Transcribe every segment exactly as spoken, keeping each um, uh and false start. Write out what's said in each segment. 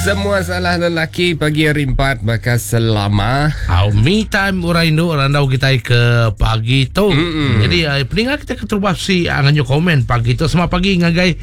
Semua salah lelaki pagi hari empat baka selama. Au me time orang indu randau kita ke pagi tu. Mm-mm. Jadi uh, peninggal kita ke terubah si uh, nganyu komen pagi tu semua pagi ngagai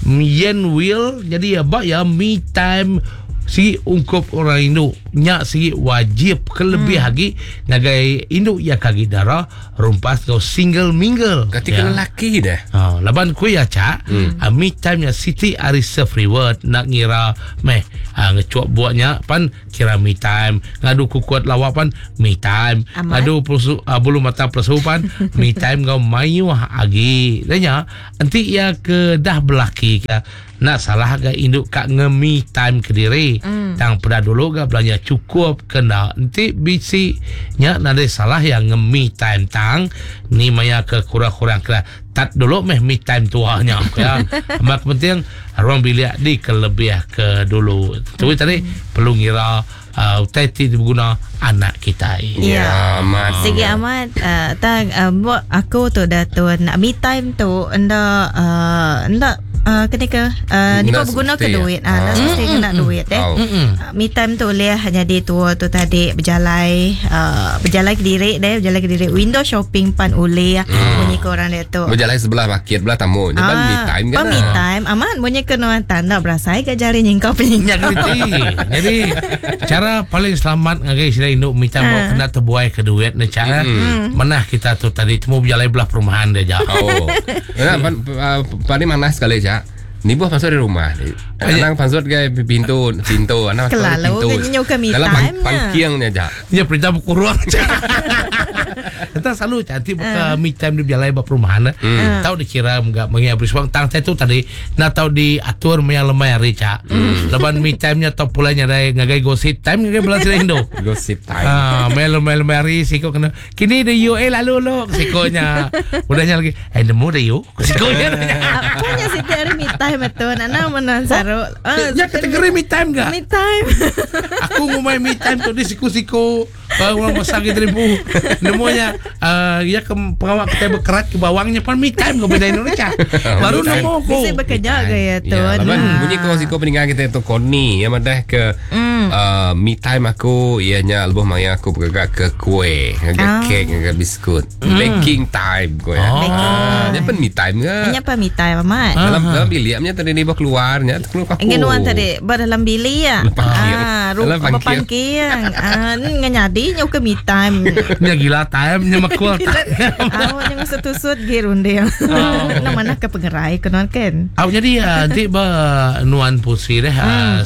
Yen Will. Jadi uh, bak ya me time si ungkup orang indu nya si wajib kelebih hmm. lagi ngagai indu ya kagi darah rumpas kau single mingle. Ketika ya. Lelaki dah. Ha, laban ku ya cak, hmm. uh, me time nya Siti ari self reward nak ngira meh uh, ngecuak buatnya pan kira me time, ngadu kukuat lawak pan me time, amat. Ngadu pelusu, uh, bulu mata pelusu pan me time ngau mayu agi. Danya enti ia ke dah belaki ke nak salah ga induk kak nge-me time ke diri. Mm. Tang peda dulu ga belanja cukup kena. Enti bisi nya nadai salah yang nge-me time tang ni maya ke kurang-kurang kena tat dulu meh me time tuanya ya. Mak penting ruang bilik di kelebih ke dulu. Tu mm. tadi perlu ngira uh, utai ti diguna anak kita. Ya, ya amat. Sigi amat uh, tang uh, buat aku tu dah tuan me time tu enda uh, enda Uh, kena ke uh, ni berguna ke duit ah uh, mesti kena duit eh oh. uh, me time tu boleh jadi tua tu tadi berjalai uh, berjalai ke diri deh berjalai ke diri window shopping pan oleh mm. bunyi ke orang dia tu berjalai sebelah bakit belah tamu je pan me time kan me time amat bunyi ke nuan tanda berasai ke jari nyingkau penyingkau jadi cara paling selamat ngagai sila induk me time uh. kena terbuai ke duit ni cara mm. manah kita tu tadi temu berjalai belah perumahan dia ja oh nah, pan, paling mana sekali ja ni buah masuk di rumah. Anang masuk ke pintu pintu anang masuk ke pintu. Dalam pangkiangnya ja. Ya perintah berkurang. Entah selalu cantik buka me time di berjalai ba perumahan. Hmm. Tahu dikira enggak mengi habis wang tang tu tadi nak tahu diatur maya lemai hari cak. Hmm. Laban me time nya tau pulanya dai ngagai gosip time ngagai belas Indo. Gosip time. Ah, maya lemai lemai hari siko kena. Kini de U A lalu lo sikonya. Udahnya lagi eh nemu de U. Sikonya. Apanya sih hari me time betul. Nana menan saru. Oh, ya kategori me time enggak? Me time. Aku ngumai me time tu di siku-siku orang besar gitu ribu. Nemunya uh, ya ke pengawak kita berkerat ke bawangnya pan me time ke beda Indonesia. Baru nemu aku. Bisa bekerja ke ya tu. Ya, laban bunyi kau siku peninggal kita tu Koni yang madah ke mm. uh, me time aku ianya lebuh maya aku bergerak ke kuih, ke ah. kek, ke biskut. Mm. Baking time ko ya. Oh. Dia pan me time ke? Nya pan me time amat. Dalam dalam bilik tadi ni bawa keluarnya keluar aku. Ingin nuan tadi ba dalam bilik ya. Ah, dalam pangkiang. Ah, nganyadi nyu ke me time. Nya gila time nya makul. Ah, nya setusut ge runding. Nang mana ke pengerai ke nuan kan. Ah, jadi nanti ba nuan pusi deh.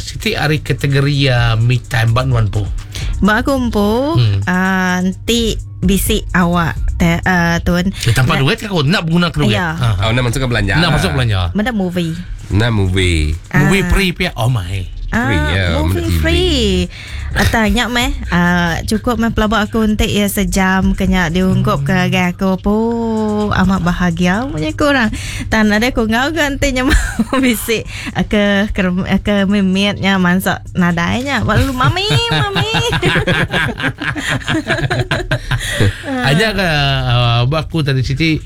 Siti hari kategori me time ba nuan pu. Ba aku empu ah nanti bisi awak te, uh, tuan. Eh, tanpa duit aku nak guna ke duit. Ya. Ha. Oh, nak masuk ke belanja. Nak masuk belanja. Mana movie? Nak movie. Movie free pia. Oh my. Ah, free, ya, movie free. Atau nyak meh uh, cukup meh pelabak aku untuk ya sejam kena diungkup ke agai aku po amat bahagia punya kurang. Tan ada aku ngau ke nanti nya bisi ke ke, ke mimitnya mansak nadainya. Lalu mami mami. Aja ke uh, aku tadi Siti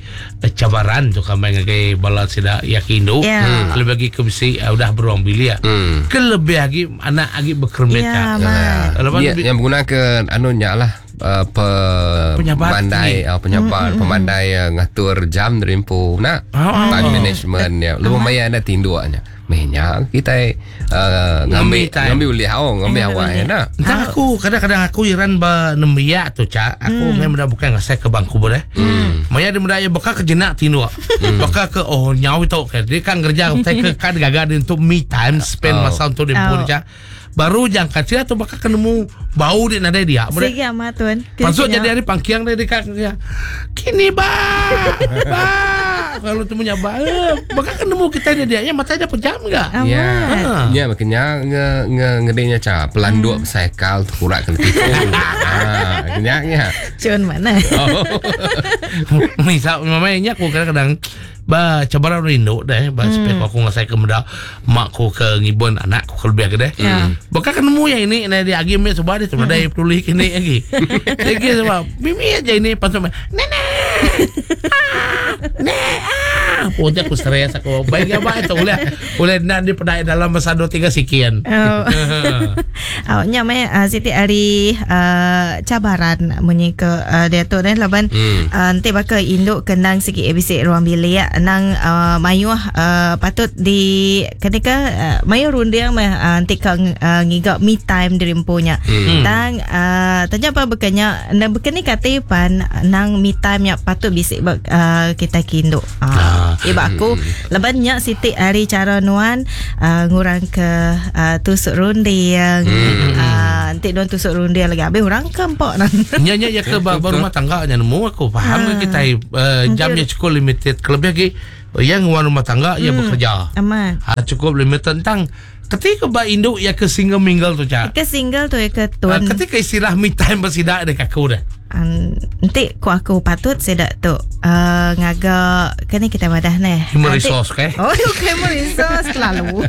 cabaran tu kami ngagai bala sida yakin yeah. hmm. Lebih lagi ke bisi uh, udah beruang bilik. Hmm. Kelebih lagi anak lagi berkermit yeah, ya, yang berguna ke anunya lah uh, pe pemandai uh, penyabar mm-hmm. pemandai uh, ngatur jam derimpu nak oh. Time management ya. Lebih maya ada tinduknya. Mehnya kita uh, ngambil ngambil ulih oh ngambil awak ya nak. Entah aku kadang-kadang aku iran ba nembiak tu cak aku mm. memang bukan ngasai ke bangku boleh. Mm. Maya dia mendaya bakal ke jenak tinduk. Mm. Bakal ke oh nyaw itu ke dia kan kerja saya ke kan gagal dia untuk me time spend oh. masa untuk dia oh. Cak. Baru jangka sia tu bakal ketemu bau dia nadai dia. Sigi amat tuan. Masuk jadi hari pangkiang dia dekat dia. Kini ba. Ba. Kalau tu punya ba. Bakal ketemu kita ni dia. Ya mata dia pejam enggak? Ya. Ya makanya nge nge ngedenya ca pelanduk hmm. Sekal kurak kena tipu. Ha, kenyaknya. Cun mana? Misal mamanya aku kadang-kadang ba cabaran rindu deh ba hmm. Supaya aku ngasai ke meda mak ku ke ngibun anak ku lebih ke deh. Hmm. Bakal ketemu yang ini nah dia agi me sebab dia tu ada peduli kini lagi. Lagi sebab mimi aja ini pasal nenek. Ah, nek ah. Ah, pun aku stres aku. Baik apa itu boleh boleh nak dipedai dalam masa dua tiga sekian. Oh. Oh, nya meh uh, siti hari uh, cabaran munyi ke uh, dia tu dan laban hmm. uh, nanti bakal induk kenang sikit A B C ruang bilik nang uh, mayuh uh, patut di ketika uh, mayuh runding meh uh, nanti ka uh, ngigak me time diri empunya. Hmm. Tang uh, tanya apa bekanya nang bekeni kate pan nang me time nya patut bisik uh, kita kinduk. Uh, ah. Iba aku laban nya siti hari cara nuan uh, ngurang ke uh, tusuk runding. Hmm. Uh, nanti nuan tusuk runding lagi habis orang ke empok nan. Nya nya ya ke rumah tangga nya nemu aku faham ke kita uh, jamnya cukup limited. Kelebih lagi yang nguan rumah tangga hmm. ya bekerja. Aman. Ha, cukup limited tentang ketika ba induk ya ke single mingle tu cak. Ke single tu ya ke tuan. Uh, ketika istilah me time bersidak dekat aku dah. Um, nanti ku aku patut sedak tu uh, ngagak kena kita madah neh. Human resource ke? Oh, human resource selalu.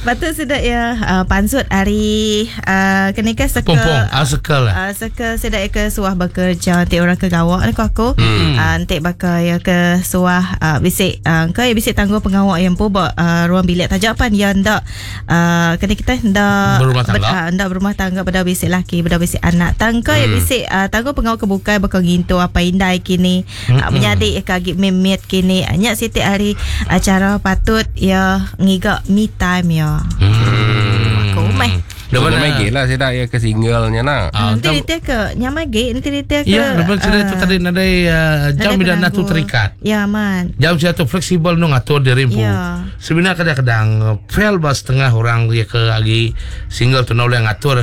Patut sedak ya uh, pansut hari uh, kena ke circle. Pompong, ah circle lah. Uh, circle sedak ke suah bekerja nanti orang ke gawak ni ku aku. Hmm. Uh, nanti bakal ya ke suah uh, bisik uh, ke ya bisik tangguh pengawak yang pu buat uh, ruang bilik tajapan ya ndak uh, kena kita ndak berumah tangga. Ber, uh, ndak berumah tangga beda bisik laki, beda bisik anak. Tang kau hmm. ya bisik uh, tangguh pengawak kebukai bakal ngintu apa indai kini hmm. uh, menyadik kagi memit kini nyak siti hari acara patut ya ngigak me time ya. Hmm. Aku meh. Dah lagi lah saya dah ya ke singlenya nak. Ah, nanti dia ke nyamage nanti dia ke. Ya, lepas uh, itu tadi nadai uh, jam tidak natu terikat. Ya man. Jam saya tu fleksibel nu ngatur diri empu. Ya. Sebenarnya kadang-kadang fail bas setengah orang dia ke lagi single tu nak boleh ngatur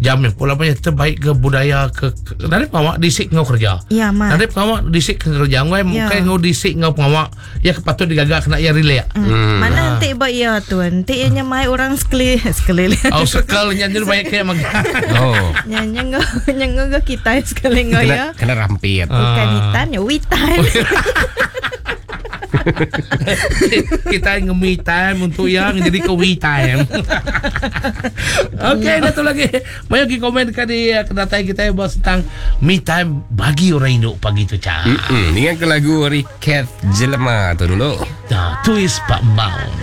jam yang pula banyak terbaik ke budaya ke, ke dari pengawak disik ngau kerja. Ya man. Dari pengawak disik ke kerja ngau Ya. mungkin ngau disik ngau pengawak ya patut digagak kena ya relax. Hmm. Hmm. Mana nanti buat ya tuan. Nanti ya nyamai orang sekeli sekeli. Oh sekali nyanyi banyak kayak mag. Oh. Nyanyi ngau nyanyi ngau kita sekali ngau ya. Kena rampit. Bukan hitam ya we time. Kita nge-me time untuk yang jadi ke we time. Okey, dah tu lagi. Mari kita komen kali kedatangan kita yang bahas tentang me time bagi orang induk pagi tu cak. Mm-mm. Ingat ke lagu Riket Jelema tu dulu. Dah, twist Pak Mau.